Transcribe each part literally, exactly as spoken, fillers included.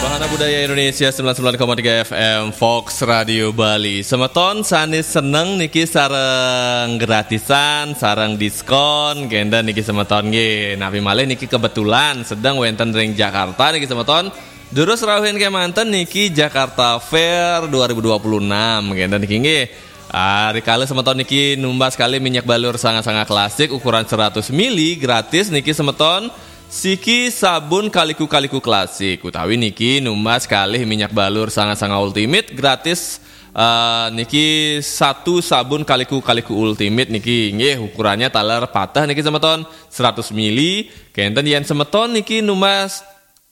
Wahana Budaya Indonesia sembilan sembilan koma tiga F M Fox Radio Bali. Semeton sane seneng niki sareng gratisan, sareng diskon, kenten niki semeton nggih. Napi malih niki kebetulan sedeng wenten ring Jakarta niki semeton. Durus rauhin kemanten niki Jakarta Fair dua ribu dua puluh enam, kenten niki nggih. Ah, rikala semeton niki numbas kalih minyak balur Sanga-Sanga klasik ukuran seratus mili gratis niki semeton siki sabun Kaliku-Kaliku klasik utawi niki numbas kalih minyak balur Sanga-Sanga Ultimate gratis, eh, niki satu sabun Kaliku-Kaliku Ultimate niki nggih ukurannya taler pateh niki semeton seratus mili. Kenten yen semeton niki numbas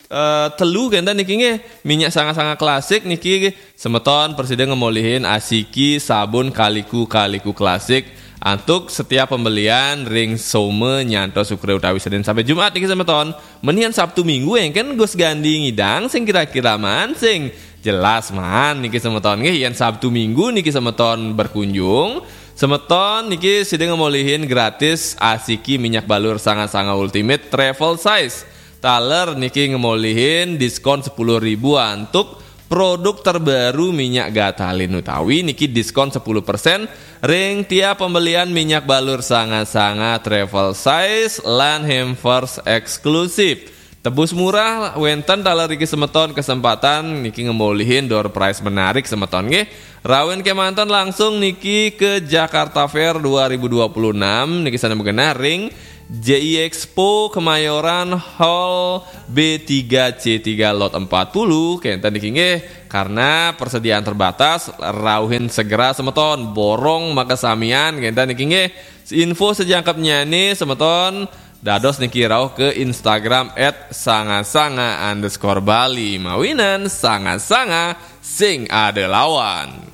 eh, telu kenten niki nggih minyak Sanga-Sanga klasik niki semeton prasida ngemolihin asiki sabun Kaliku-Kaliku klasik antuk setiap pembelian ring Soma nyantos Sukra utawi Senin sampai Jumat niki semeton. Menihan Sabtu Minggu engken Gus Gandhi ngidang sing kira-kira maan sing jelas maan niki semeton nggih yen Sabtu Minggu niki semeton berkunjung, semeton niki sida ngemolihin gratis asiki minyak balur Sanga-Sanga Ultimate travel size. Taler niki ngemolihin diskon sepuluh ribu antuk produk terbaru minyak Gatalin utawi niki diskon sepuluh persen ring tiap pembelian minyak balur Sanga-Sanga travel size lan hampers eksklusif. Tebus murah wenten taler niki semeton kesempatan niki ngemolihin door prize menarik semeton nggih. Rauhin kemanten langsung niki ke Jakarta Fair dua ribu dua puluh enam niki sane magenah ring J I Expo Kemayoran Hall B tiga C tiga lot empat puluh kenten niki nggih karena persediaan terbatas rauhin segera semeton borong makasamian kenten niki nggih info sejangkepnyane semeton dados niki rauh ke Instagram at sanga sanga underscore bali mawinan Sanga-Sanga sing ada lawan.